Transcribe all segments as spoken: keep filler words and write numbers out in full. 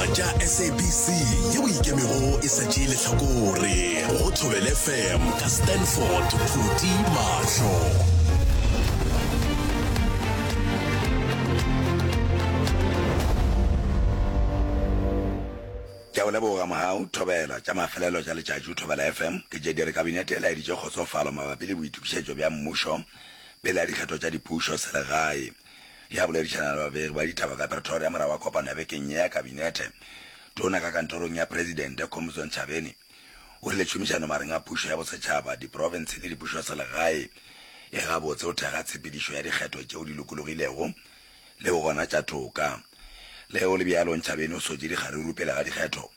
Ditaba tša S A B C yeo ikemego e sa tšee lehlakore go Thobela F M ka Stanford Phuti Mahlo. Ke a o leboga Mohau. Thobela tša mafelelo tša letšatši Thobela F M ke tše di re Kabinete e laeditše kgotsofalo mabapi le boitokišetšo bja mmušo pele ga dikgetho tša dipušo selegae. Ya boledišana le babegi ba ditaba ka Pretoria morago ga kopano ya bekeng ye ya Kabinete, Tona ka kantorong ya Presidente Khumbudzo Ntshavheni o rile tšhomišano magareng a pušo ya bosetšhaba, diprofense le dipušo selegae e gabotse go thekga tshepedišo ya dikgetho tšeo di lokologilego le go gona tša toka. Le ge go le bjalo, Ntshavheni o sotše dikgaruru pele ga dikgetho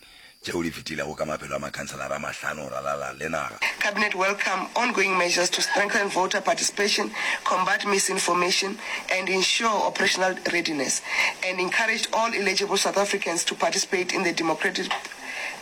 tšeo di fetilego ka maphelo a makhanselara a mahlano go ralala le naga. Cabinet welcome ongoing measures to strengthen voter participation, combat misinformation and ensure operational readiness, and encouraged all eligible South Africans to participate in the democratic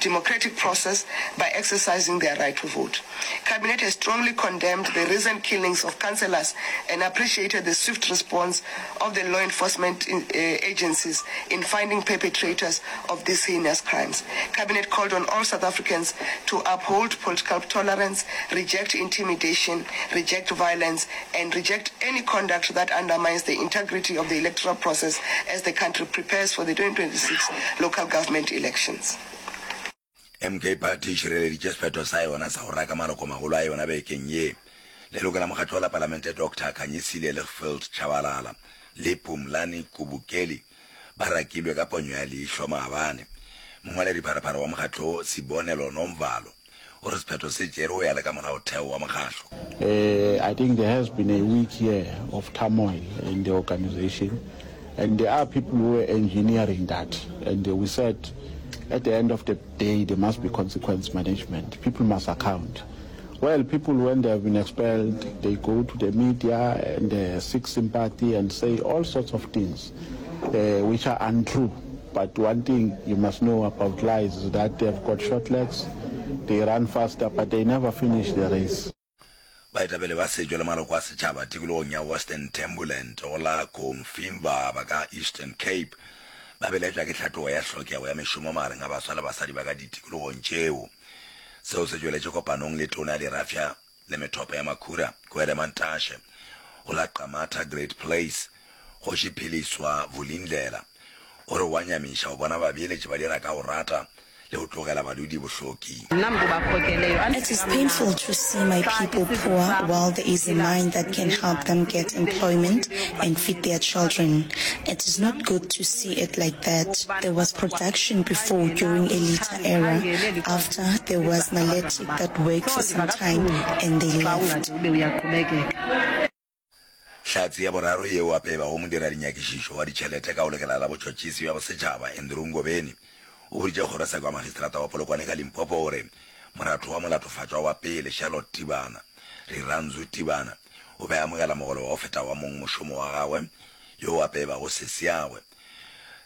democratic process by exercising their right to vote. Cabinet has strongly condemned the recent killings of councillors and appreciated the swift response of the law enforcement uh, agencies in finding perpetrators of these heinous crimes. Cabinet called on all South Africans to uphold political tolerance, reject intimidation, reject violence, and reject any conduct that undermines the integrity of the electoral process as the country prepares for the twenty twenty-six local government elections. M K Party e šireleditše sephetho sa yona sa go raka malokomagolo a yona bekeng ye. Leloko la mokgatlo la Palamente Doctor Khanyisile Lichfield Tshabalala le Pumlani Kubukeli ba rakilwe ka ponyo ya leihlo maabane. Mongwaledipharephare wa mokgatlo Sibonelo Nomvalo o re sephetho se tšere go ya le ka molaotheo wa mokgatlo. Uh, I think there has been a week here of turmoil in the organization, and there are people who were engineering that. And uh, we said at the end of the day, there must be consequence management. People must account. Well, people, when they have been expelled, they go to the media and uh, seek sympathy and say all sorts of things uh, which are untrue. But one thing you must know about lies is that they've got short legs, they run faster, but they never finish the race. Baetapele ba setšo le maloko a setšhaba tikologong ya Western Thembuland go la Cofimvaba ka Eastern Cape ba belaetšwa ke tlhatlogo ya hlokego ya mešomo magareng a baswa le basadi ba ka ditikologong tšeo. Seo se tšweletše kopanong le tona ya dirafša le methopo ya makhura Gwede Mantashe go la Qamata Great Place. Kgoši Philiswa Vulindlela o re wa nyamiša go bona babeeletši ba dira ka go rata le go tlogela badudi bohloki. It is painful to see my people poor while there is a mine that can help them get employment and feed their children. It is not good to see it like that. There was production before during Ilitha era. After, there was Naledi that worked for some time and they left. Hlatse ya boraro yeo gape e bago modiradinyakišišo wa ditšhelete ka go lekala la botšhotšhisi bja bosetšhaba Andrew Ngobeni o boditše kgorotsheko ya magistrata wa Polokwane ka Limpopo gore moratho wa molatofatšwa wa pele Charlotte Tibana, Rirhandzu Tibana, o be a amogela mogolo wa go feta wa mongmošomo wa gagwe yo gape e bago sesiagwe.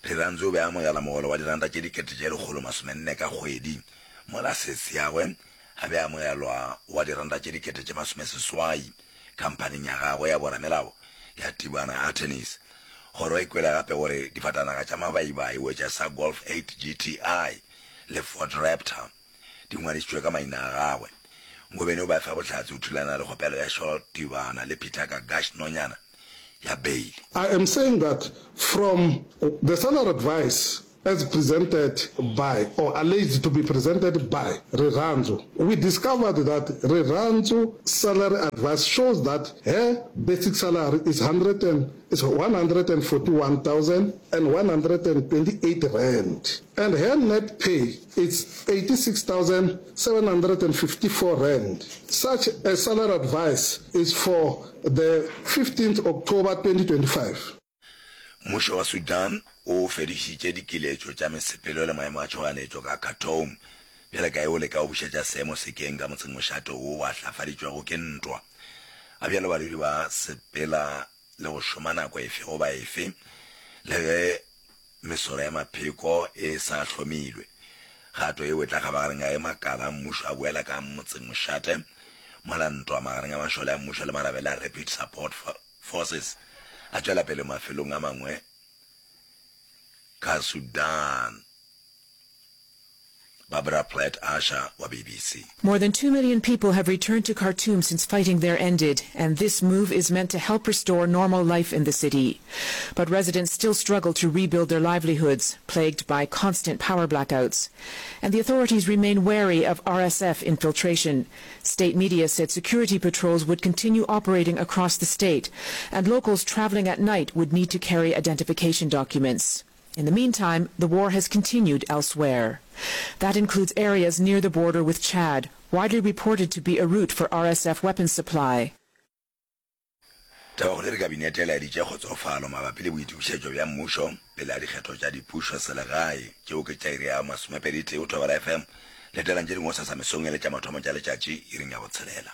Rirhandzu o be a amogela mogolo wa diranta tše dikete tše lekgolo masomenne ka kgwedi, mola sesiagwe a be a amogelwa wa diranta tše dikete tše masomeseswai khamphaning ya gagwe ya boramelao ya Tibana Attorneys. Kgoro e kwele gape gore difatanaga tša mabaibai wetša sa Golf eight G T I le Ford Raptor di ngwadišitšwe ka maina a gagwe. Ngobeni o be a fa bohlatse o thulana le kgopelo ya Charlotte Tibana le Peter Gagash Nonyana ya beile. I am saying that from the salary advice as presented by or alleged to be presented by Rirhandzu, we discovered that Rirhandzu salary advice shows that her basic salary is hundred and is one hundred and forty-one thousand one hundred and twenty-eight rand and her net pay is eighty-six thousand seven hundred and fifty-four rand. Such a salary advice is for the fifteenth October twenty twenty-five. Mmušo wa Sudan o fedišitše dikiletšo tša mesepelo le maemo a tšhoganetšo ka Khartoum bjale ka ge o leka go bušetša seemo sekeng ka motsengmošate wo o ahlafaditšwego ke ntwa. Ga bjale badudi ba sepela le go šoma nako efe goba efe le ge mesoro ya mapheko e sa hlomilwe. Kgato yeo e tla kgabagareng ga ge makala a mmušo a boela ka motsengmošate mola ntwa magareng a mašole a mmušo le marabele a Rapid Support Forces a tšwela pele mafelong a mangwe ka Sudan. Barbara Plett Usher wa BBC. More than two million people have returned to Khartoum since fighting there ended, and this move is meant to help restore normal life in the city. But residents still struggle to rebuild their livelihoods, plagued by constant power blackouts. And the authorities remain wary of R S F infiltration. State media said security patrols would continue operating across the state, and locals traveling at night would need to carry identification documents. In the meantime, the war has continued elsewhere. That includes areas near the border with Chad, widely reported to be a route for R S F weapons supply. Tabakgolo e re Kabinete e laeditše kgotsofalo mabapi le boitokišetšo bja mmušo pele ga dikgetho tša dipušo selegae tšeo ke tša iri ya masomepedi tee go Thobela F M. Letelang tše dingwe gosasa mesong e le tša mathomo tša letšatši iring ya botshelela.